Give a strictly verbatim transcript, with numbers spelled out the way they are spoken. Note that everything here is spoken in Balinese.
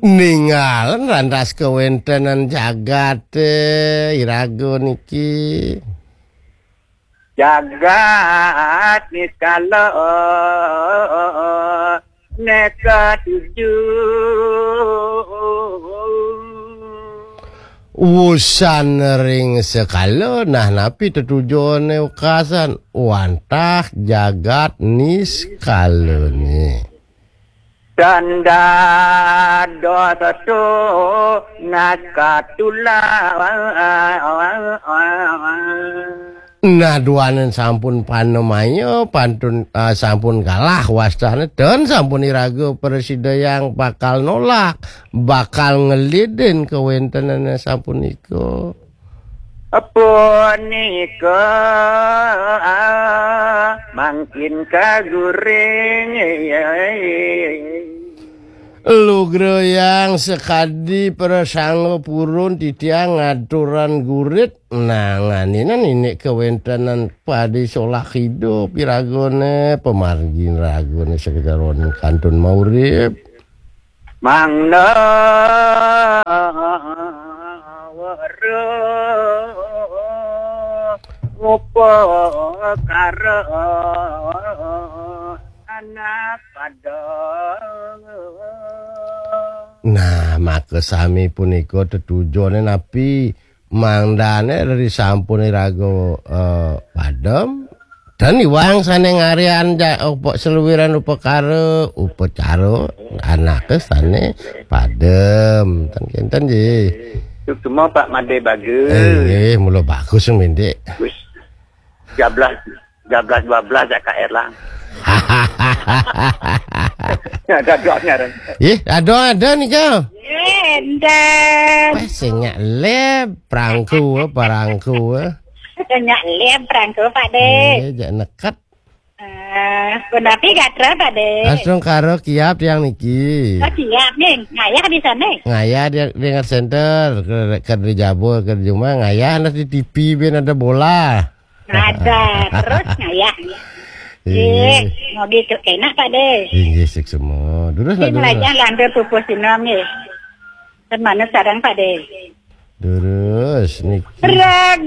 Ningalen rantas kawéntenan jagaté iraga niki. Jagat niskala neka tuju. Wusan ring sekala, nah, napi tetujoné wekasan? Wantah jagat niskalané. Tanda dosa tu nakatulah. Nah, duaning sampun panamaya, pantun, ah, sampun kalah wastané, ten sampun iraga prasidayang bakal nolak, bakal ngelidin kawéntenané sapunika. Punika, ah, mangkin kaguring. Lugrayang sakadi prasangga purun titiang ngaturan gurit, nanganinan indik kawéntenan padi solah idup iragané, pamargin ragané sakecaroning kantun maurip. Mangda weruh upakara anak pada. Nah, maka sami punika tetujoné napi? Mangdané risampun iraga, eh, padem, ten iwang sané ngaryan ja-, upa-, saluiran upakara, upacara, anaké sané padem. Ten kénten, nggih. Suksma, Pak Madé bagus. Eh, nggih, mula bagus, Mindik. Wis. Jablas, jablas dua belas ya, Kak Erlang. Ya, ada doanya, Ren. Ih, ada, ada nih, Kak. Enten. Wah, sing nyak leb, perangku, eh, perangku, eh. Nyak leb, perangku, Pak Dé. Eh, jak neket. Eh, punapi gatra, Pak Dé. Langsung karo kiap tiang niki. Oh, siap, nih. Ngayah di sana. Ngayah di, di Center, ke, ke di Jabur, ke di rumah, ngayah nasi T V, ben ada bola. Ada, terus ngayah. Iya. Ih, ngogi ke enak, Pak Dé. Inggih, sik semua. Terus lah, terus. Lajang lantur pupus sinom, nggih. Ten manut sareng, Pak Dé. Terus, niki. Raga